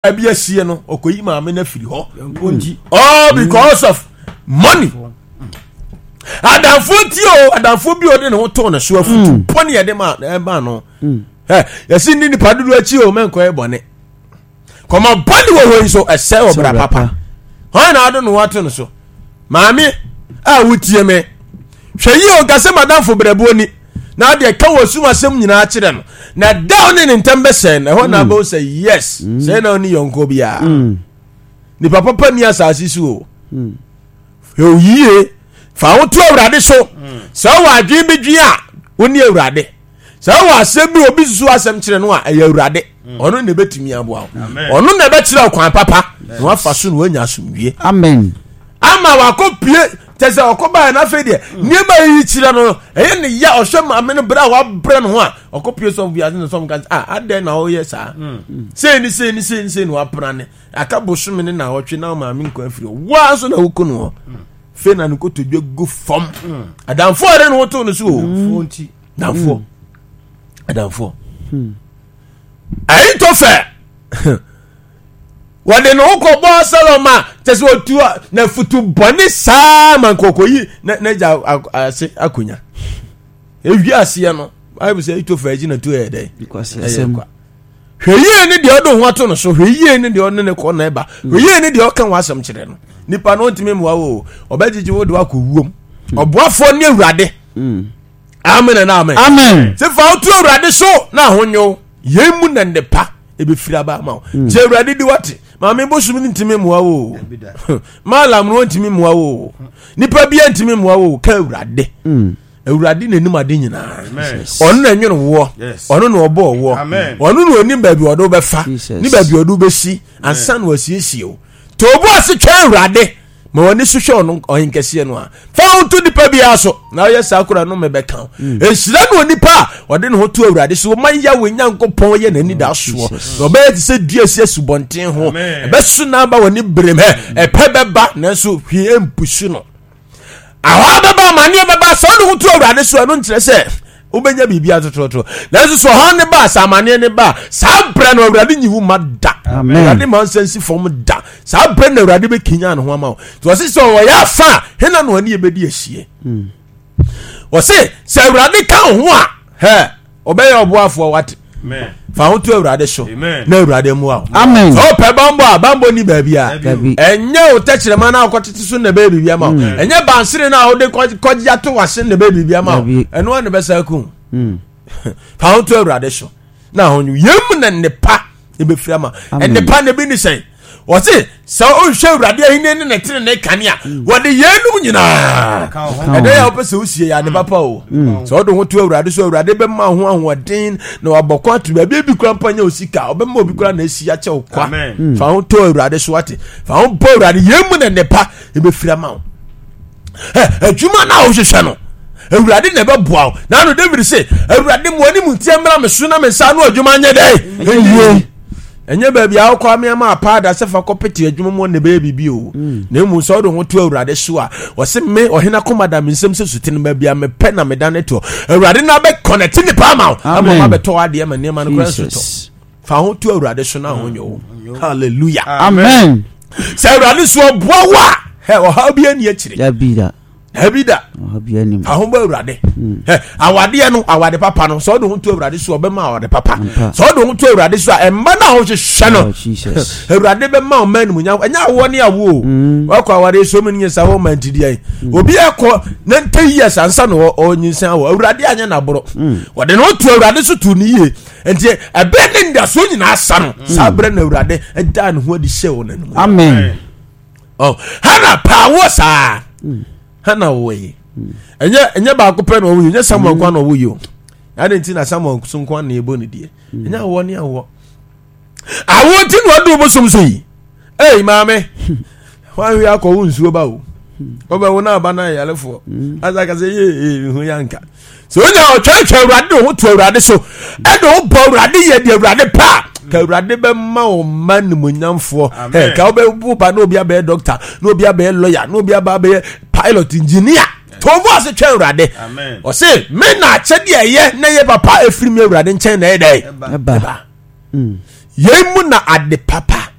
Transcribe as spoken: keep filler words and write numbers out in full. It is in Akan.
Bi asie no, ɔkɔyi maame no afiri hɔ, all because of money. Adamfoɔ ti o, adamfoɔ bi a ɔde ne ho too ne so, afutu mm. bɔne yɛde ma ɛma no mm. Ɛ yɛsi ni nipa dodo akyi o, mɛnkɔ yɛ bɔne kɔmɔ bɔne wɔ hɔ yi so, ɛsɛ wɔ bra papa hɔn na ado ne ho ato ne so. Maame a wotie me, hwɛ yie o, nkasɛ madamfo brɛboɔ ni na adeɛ ka wɔ sum asɛm nyinaa kyerɛ no, na da ne ne ntam bɛsɛn na ɛhɔ na mm. abɛwo sɛ yes mm. sɛ na ɔne yɔnko biara mm. Nipa papa ni asase so o. Hwɛ yie, fa wo to Awurade so. Sɛ wɔ adwene bi dwen a, wo ne Awurade. Sɛ wɔ asɛm bi obi susu asɛm kyerɛ no a, ɛyɛ Awurade. Ɔno na ɛbɛtumi aboa wo, ɔno na ɛbɛkyerɛ kwan papa na wafa so na wanya asomdwie. Amen. Ama wakɔ pie kyɛ sɛ ɔkɔ baeɛ no, afei deɛ nneɛma yi kyerɛ no, ɛyɛ ne ya. Ɔhwɛ maame no berɛ a wabrɛ no ho a, ɔkɔ pie sɔfo bi ase na sɔfo ka sɛ, ah, adɛn na ɔyɛ saa? Sei ne sei ne sei ne sei na wapra ne aka bosome ne na ɔtwe na maame nkɔ afiri hɔ, waa nso na wokɔ no hɔ. Afei na ne kotodwe gu fam. Adamfoɔ a ɔde ne ho too no so o, adamfoɔ, adamfoɔ Ahitofel, wɔde ne ho kɔbɔ Absalom a kyɛ sɛ ɔtu na futu bɔne saa ma nkɔkɔyi n'agya ase akonya. Ewi aseɛ no, Bible sɛ Ahitofel akyi na tu yɛ dɛ ɛyɛ kwa. Hwɛ yie ne deɛ ɔde ho ato no so, hwɛ yie ne deɛ ɔne ne kɔ na ɛba, hwɛ yie ne deɛ ɔka ho asɛm kyerɛ no. Nipa no ntumi mmoa wo, ɔbɛgyegye wo de wakɔ wuom. Ɔboafoɔ ne Awurade. Mm. Amen and amen. Amen. Sɛ fa woto Awurade so na ahonyo yɛn mu na nnepa ebɛfiri aba ama wo. Mm. Sɛ Awurade di wate, maame bosom no ntumi mmoa wo, maalam no ntumi mmoa wo, nipa bia ntumi mmoa wo, ka Awurade. Mm. Awurade n'anim ade nyinaa, ɔno na ɛnwene woɔ, ɔno na ɔbɔɔ woɔ, ɔno na ɔnim baabi ɔde wobɛfa ne baabi ɔde wobɛsi ansa na wasiesie wo. Tobo ase twɛn Awurade, ma w'ani so hwɛ ɔno ɔhenkɛseɛ no a, fa wo to nipa biara so na ɔyɛ saa kora no mebɛka wo. Mm. Nhyira no onipa a ɔde ne ho to Awurade so, ɔma Yahweh Nyankopɔn yɛ n'ani da soɔ, na ɔbɛyɛ te sɛ dua si asubɔnten ho, ɛbɛso n'aba wɔ ne berem, hɛ ɛpɛ bɛba nanso hwee mpusu no. Ahɔ bɛba, amanneɛ bɛba. Sɛ ɔde ho to Awurade so, ɛno nkyerɛ sɛ wobɛnya biribi atototo, nanso sɛ ɔhaw ne ba, sɛ amanneɛ ne ba, saa berɛ no Awurade nyi wo ma da. Awurade ma nsa nsi fam da. Saa berɛ no Awurade bɛkenya ne ho ama wo. Nti ɔse sɛ ɔyɛ afa a, hena na ɔne yɛbɛdi ahyie? Hmm. Ɔse sɛ Awurade ka wo ho a, hɛ ɔbɛyɛ ɔboafoɔ. Wate, fa ho to Awurade so na Awurade mmoa wo. Sɛ wopɛ bambɔ a, bambɔ ni baabi a ɛnyɛ wo tɛkyerɛma no a wokɔtete so na ɛbɛyɛ biribi ama wo, mm. ɛnyɛ bansere no a wode kɔgye ato wase na ɛbɛyɛ biribi ama wo. Ɛno a na ɛbɛsa ku. mm. Fa ho to Awurade so na ho yɛm na nnepa ɛbɛfiri ama. Nnepa na ebi ne sɛn? Wɔse sɛ wohwɛ Awurade ahenni ne ne tene ne kanea, mm. wɔde yeinom nyinaa. Ɛdɛ yɛ wopɛ sɛ wosie yɛ ade papa o. mm. Sɛ wode ho to Awurade so, Awurade bɛma ho ahoɔden na wabɔ kɔ ato baabi ebi kora mpa nyɛ wo sika, ɔbɛma obi kora na asi akyɛ wo kwa. mm. Fa ho to Awurade so, wate, fa ho bɔ Awurade yɛn mu na nnepa ɛbɛfiri ama wo. Adwuma no a wohwehwɛ no, Awurade na ɛbɛboa wo. Na ano David se, Awurade, mo anim nteɛ mmra me so na me nsa ano adwuma nyɛ dɛn? Ɛyie. Ɛnyɛ baabi a wokɔ ameama apaada sɛ fa kɔpete adwuma mu na ɛbɛyɛ biribi o. mm. Na mmom sɛ wode ho to Awurade so a, ɔse me ɔhene akoma da me nsɛm sɛ sutene, baabi a mepɛ na meda ne toɔ. Awurade na bɛkɔnɛte nipa ama wo ama ma bɛtɔ adeɛ ma nneɛma no kora nso tɔ. Fa ho to Awurade so na ho nyɛ wo. Hallelujah, amen. Sɛ Awurade so ɔboa wo a, ɔhaw bi ani akyire dabi da. Fa ho bɔ Awurade. hmm. Awadeɛ no, awade papa no, sɛ ɔde ho to Awurade so, ɔbɛma awade papa. Sɛ ɔde ho to Awurade so a, ɛmma no a wohwehwɛ no, oh, Awurade bɛma ɔma animuonyam. Ɛnyɛ awoɔ ne awoɔ o. hmm. Wakɔ awadeɛ so mu no nyɛ sa wɔ ma ntideɛ hmm. Obi akɔ ninety years ansa na ɔnyinsɛn awɔ. Awurade anyɛ n'aborɔ. Wɔde ne ho to Awurade so to ne yie, nti ɛberɛ ne ndasoɔ nyinaa sa no, saa berɛ na Awurade ɛdaa ne ho adi hyɛ wɔ n'anim. Amen. Oh, Hana paa wo saa. mm. Hana wɔ yi, ɛnyɛ ɛnyɛ baako pɛ na ɔwɔ yi, ɛnyɛ Samuel nko na ɔwɔ yi o. Adi nti na Samuel so nko na ɛbɔ ne deɛ. Ɛnyɛ awɔ ne awɔ awɔ nti na ɔde bosom so yi. Ɛy maame, wɔahwe akɔ wo nsuo ba o, ɔbɛwo na aba na ayarefoɔ asa kasa yee ee ho yanka. Sɛ onya ɔtwɛntwɛn Awurade de ho to Awurade so, ɛde ho bɔ Awurade, yɛ deɛ Awurade pɛ a, ka Awurade bɛma wo mma nimonyamfoɔ. Ɛ ka wobɛwo ba na obi abɛyɛ doctor, na obi abɛyɛ lawyer, na obi aba abɛyɛ pilot, engineer. To wo ase twɛn Awurade. Ɔse me na akyɛdeɛ ɛyɛ na ɛyɛ papa ɛfiri me Awurade nkyɛn na ɛyɛ dɛ ɛba. Yei mu na ade papa